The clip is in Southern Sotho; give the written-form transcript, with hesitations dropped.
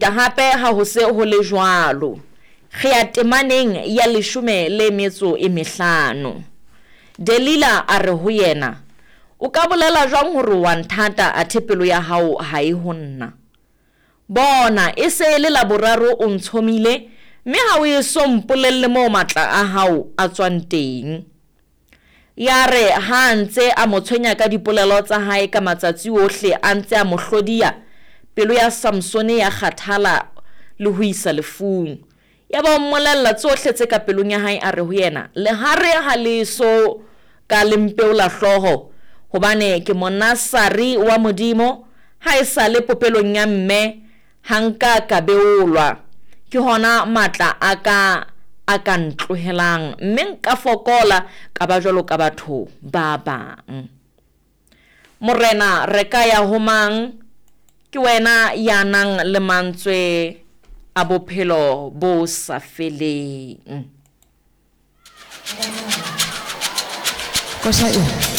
Hape ha ho se ho le jwalo, re ya temaneng ya leshome le metso e mehlano. Delila a re ho yena, O ka bolela jwang hore o a nthata athe pelo ya hao ha e ho nna? Bona, e se e le la boraro o ntshomile, mme ha o eso mpolelle moo matla a hao a tswang teng. Yare ha a ntse a mo tshwenya ka dipolelo tsa hae ka matsatsi wohle, a ntse a mo hlodiya, pelo ya Samsone ya kgathala le ho isa lefung. Yaba o mmolella tsohle tse ka pelong ya hae, a re ho yena, Lehare ha le eso ka le mpeola hlooho, hobane ke Monasari wa Modimo, ha e sa le popelong ya mme, ha nka ka beolwa. Ke hona matla a ka a ka ntlohelang, mme nka fokola, ka ba jwalo ka batho ba bang. Morena, re ka ya ho mang? Ke wena ya nang le mantswe a bophelo bo sa feleng. Koša e.